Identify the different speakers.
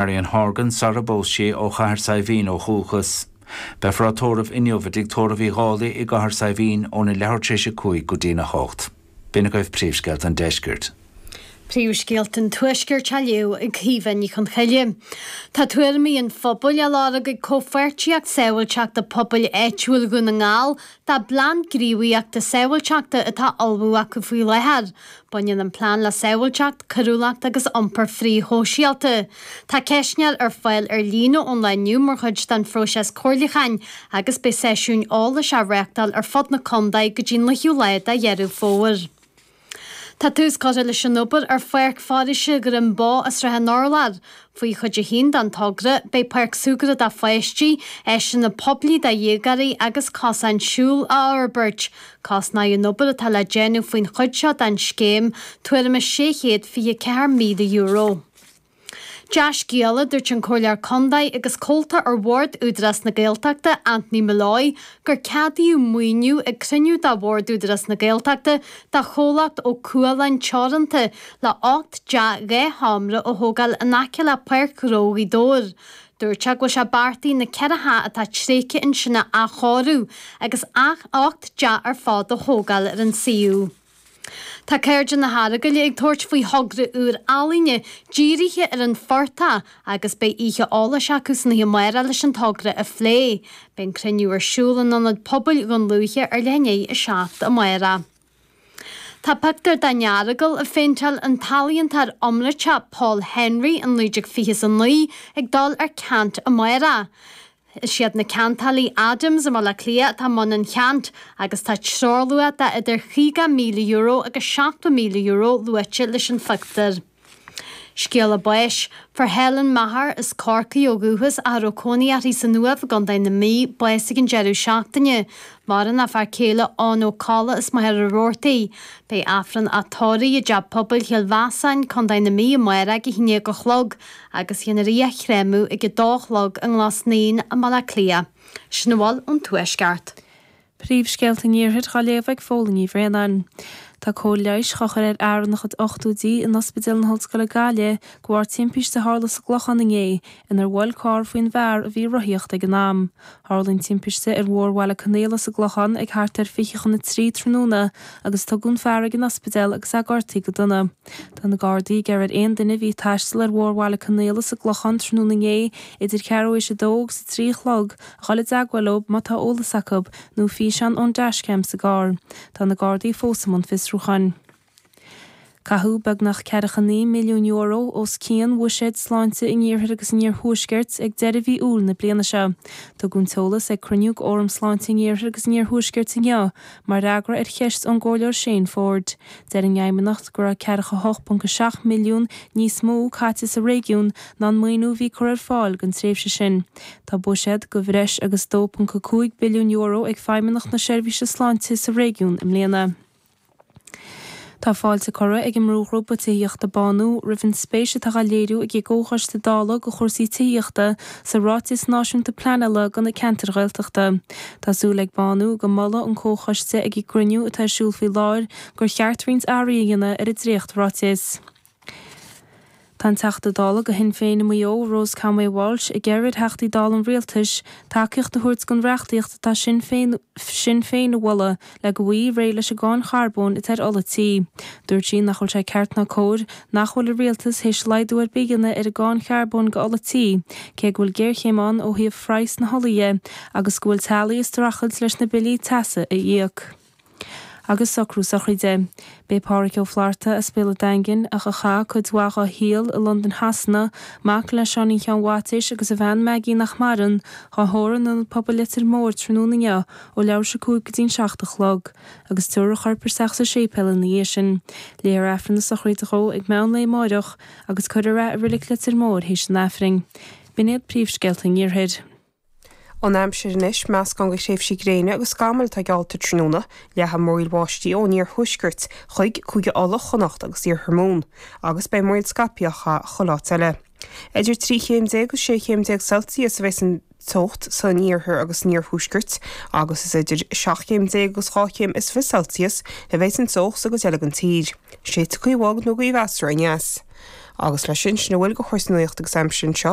Speaker 1: Marion Horgan sara bpós sí ó Chathair Saidhbhín ó dhúchas. Beifear á tórramh inniu i dTigh Tórraimh Uí Dhálaigh i gCathair Saidhbhín óna leathuair tar éis 5 go dtína 8. B'in agaibh príomhscéalta an deiscirt.
Speaker 2: Príomhscéalta an Tuaiscirt á léamh ag Caoimhe Ní Chonchoille. Tá tuairimí an phobail á lorg ag Comhpháirtíocht Sábháilteachta Pobail Áitiúil Dhún na nGall dá bplean gníomhaíochta sábháilteachta atá á ullmhú acu faoi láthair. Baineann an plean le sábháilteacht, coiriúlacht agus iompar frithshóisialta. Tá ceistneoir ar fáil ar líne ón lá inniu mar chuid den phróiseas comhairliúcháin agus beidh seisiúin eolais á reáchtáil ar fud na contae go dtí an 9ú lá de Dheireadh Fómhair. Tá tús curtha leis an obair ar Pháirc Foraoise Dhroim Bó i Srath an Urláir. Faoi chuid a haon den togra, beidh páirc súgartha do pháistí, áiseanna poiblí do dhéagóirí agus cosáin siúil á fhorbairt. Cosnóidh an obair atá le déanamh faoin chuid seo den scéim tuairim is €624,000. Dea-scéala, dúirt an Comhairleoir Contae agus Comhalta ar Bhord Údarás na Gaeltachta, Anthony Molloy, gur ceadaíodh maoiniú ag cruinniú de Bhord Údarás na Gaeltachta do chomhlacht Ó Cualáin Teoranta le 8 dteach 2 sheomra a thógáil in aice le Páirc Ghnó Ghaoth Dobhair. Dúirt sé go bhfuil sé beartaithe na 4 theach atá tréigthe ansin a athchóiriú agus 8 dteach ar fad a thógáil ar an suíomh. Tá Cairde na hEaragaile ag tabhairt faoi thogra úr ealaíne dírithe ar an phortach agus beidh oíche eolais acu san oíche amárach leis an togra a phlé. Beidh an cruinniú ar siúl in Ionad Pobail Dhún Lúiche ar leath i ndiaidh 7 amárach. Tá pictiúr den Earagail a phéinteáil an t-ealaíontóir iomráiteach Paul Henry in 1929 ag dul ar ceant amárach. Is iad na ceantálaí Adams i mBaile Átha Cliath atá i mbun an cheant agus tá treoirluach de idir €50,000 agus €70,000 luaite leis an phictiúr. Scéala báis. Fuair Helen Maher, as Corcaigh ó dhúchas ach a raibh cónaí uirthi san Uaimh i gContae na Mí, bás ag an deireadh seachtaine. Maireann a fear céile Eoin Ó Colla as Machaire Rabhartaigh. Beidh Aifreann a tórraimh i dTeach Pobail Chill Mheasáin, Contae na Mí amárach ag a 11 a chlog agus dhéanfar í a chréamadh ag a dó a chlog i nGlas Naíon i mBaile Átha Cliath. Sin a bhfuil ón Tuaisceart.
Speaker 3: Príomhscéalta an Iarthair dhá léamh ag Fódhla Ní Bhraonáin. Tá cóir leighis dhá chur ar fhear ina chuid ochtóidí in Ospidéal na hOllscoile Gaillimh de bharr timpiste a tharla sa gClochán inné inar bhuail carr faoin bhfear a bhí ag rothaíocht ag an am. Tharla an timpiste ar Bhóthar Bhaile Conaola sa gClochán ag thart ar 2:40 tráthnóna agus tugadh an fear ag an ospidéal agus é gortaithe go dona. Tá na Gardaí ag iarraidh ar aon duine a bhí ag taisteal ar Bhóthar Bhaile Conaola sa gClochán tráthnóna inné idir ceathrú théis a dó agus a 3 a chlog a dhul i dteagmháil leo má tá eolas acu, nó físeán ón dashcam sa gcarr. Tá na Gardaí fós i mbun fiosrúcháin. Caitheadh beagnach €49 milliún os cionn bhuiséad sláinte an Iarthair agus an Iarthuaiscirt ag deireadh mhí Iúil na bliana seo. Tugadh an t-eolas ag cruinniú d'Fhóram Sláinte an Iarthair agus an Iarthuaiscirt inniu mar fhreagra ar cheist ón gComhairleoir Shane Forde. Deir an Fheidhmeannacht go raibh 48.7 milliún níos mó caite sa réigiún ná an maoiniú a bhí curtha ar fáil don tréimhse sin. Tá buiséad de bhreis agus €2.5 billiún ag Feidhmeannacht na Seirbhíse Sláinte sa réigiún i mbliana. Tá fáilte curtha ag an mbrúghrúpa tithíochta Bánú roimh an spéis atá á léiriú ag an gComhchoiste Dála do chúrsaí tithíochta sa Ráiteas Náisiúnta Pleanála do na Ceantair Ghaeltachta. Tá súil ag Bánú go molfaidh an Comhchoiste ag a gcruinniú atá ar siúl faoi láthair gur cheart roinnt athruithe a dhéanamh ar an dréacht-ráiteas. Tá an Teachta Dála do Shinn Féin i Maigh Eo, Rose Conway Walsh, ag iarraidh ar Theachtaí Dála an Rialtais tacaíocht a thabhairt don reachtaíocht atá Sinn Féin Sinn Féin a mholadh le go bhfaighfí réidh leis an gcáin charbóin atá ar ola tí. Dúirt sí nach bhfuil sé ceart ná cóir nach bhfuil an Rialtas théis laghdú ar bith a dhéanamh ar an gcáin charbóin go ola tí cé go bhfuil géarchéim ann ó thaobh phraghas na hola dhe agus go bhfuil teaghlaigh ag streachailt leis na billí teasa a íoc. Agus socrú sochraide. B'é Pádhraic Ó Flatharta as Béal an Daingin, ach a chaith cuid mhaith dhá shaol i Londain Shasana, mac le Seáinín Sheáin Mhaitéis agus a bhean Maggie nach maireann, dhá thórramh in Ionad Pobail Leitir Móir tráthnóna inniu ó leathuair théis 5 go dtí'n 7 a chlog, agus tabharfar a chorp isteach sa séipéal ina dhiaidh sin. Léifear Aifreann na sochraide dhó ag meán lae amáireach, agus cuirfear é i Reilig Leitir Móir théis an Aifrinn. B'in iad príomhscéalta an Iarthair.
Speaker 4: An aimsir anois, meascán de thréimhsí gréine agus scamaill atá geallta tráthnóna, leathfaidh múraíl bháistí ón iarthuaisceart chuig Cúige Uladh, Chonnacht agus iarthar Mumhan, agus beidh múraíl scaipthe á chaitheamh chuile áit eile. Idir 13 chéim agus 16 chéim Celsius a bheas an teocht san iarthar agus san iarthuaisceart agus is idir 17 chéim agus 22 chéim Celsius a bheas an teocht sa gcuid eile den tír. Séidfidh gaoth bhog nó gaoth mheasartha aneas. Agus leis sin, sin a bhfuil de chúrsaí nuachta agus aimsire anseo.